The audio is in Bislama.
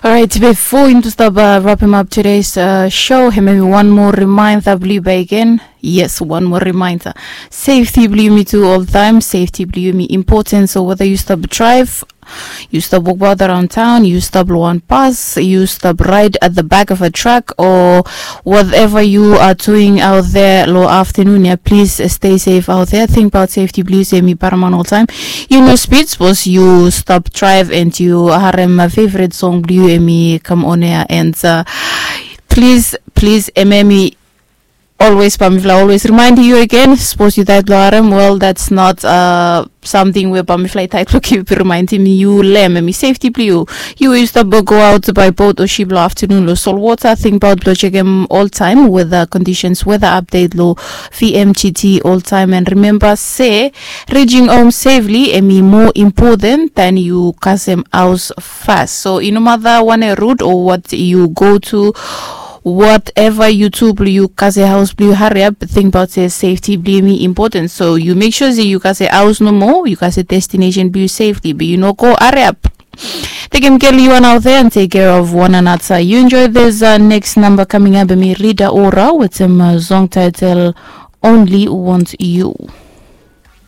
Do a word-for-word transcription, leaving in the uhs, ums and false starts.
Alright, before yumi tu stap uh, wrap him up today's uh, show, him maybe one more reminder blue by again. Yes, one more reminder. Safety blue me too all the time. Safety blue me important. So whether you stop drive, you stop walk about around town, you stop lo one bus, you stop ride at the back of a truck, or whatever you are doing out there lo afternoon, yeah, please stay safe out there. Think about safety blue say me paraman all time. You know speed suppose you stop drive and you harem my favorite song blue emi come on air and uh, please please ememi always pamifla always remind you again suppose you died lo harem. Well, that's not uh, something where pamifla tight lo keep reminding you lem emi safety blue. You used to go out by boat or ship lo afternoon lo sol water. Think about lo check em all time weather conditions, weather update lo V M G T all time and remember say reaching home safely emi more important than you kasem house fast. So you no matter one route or what you go to, whatever you do blue you kase house blue hurry up. Think about say safety blue me important, so you make sure say you kase house no more, you kase destination blue safely but you no go hurry up. Take him care you one out there and take care of one another. You enjoy this uh, next number coming up me Rida Ora with some uh, song title Only Want You.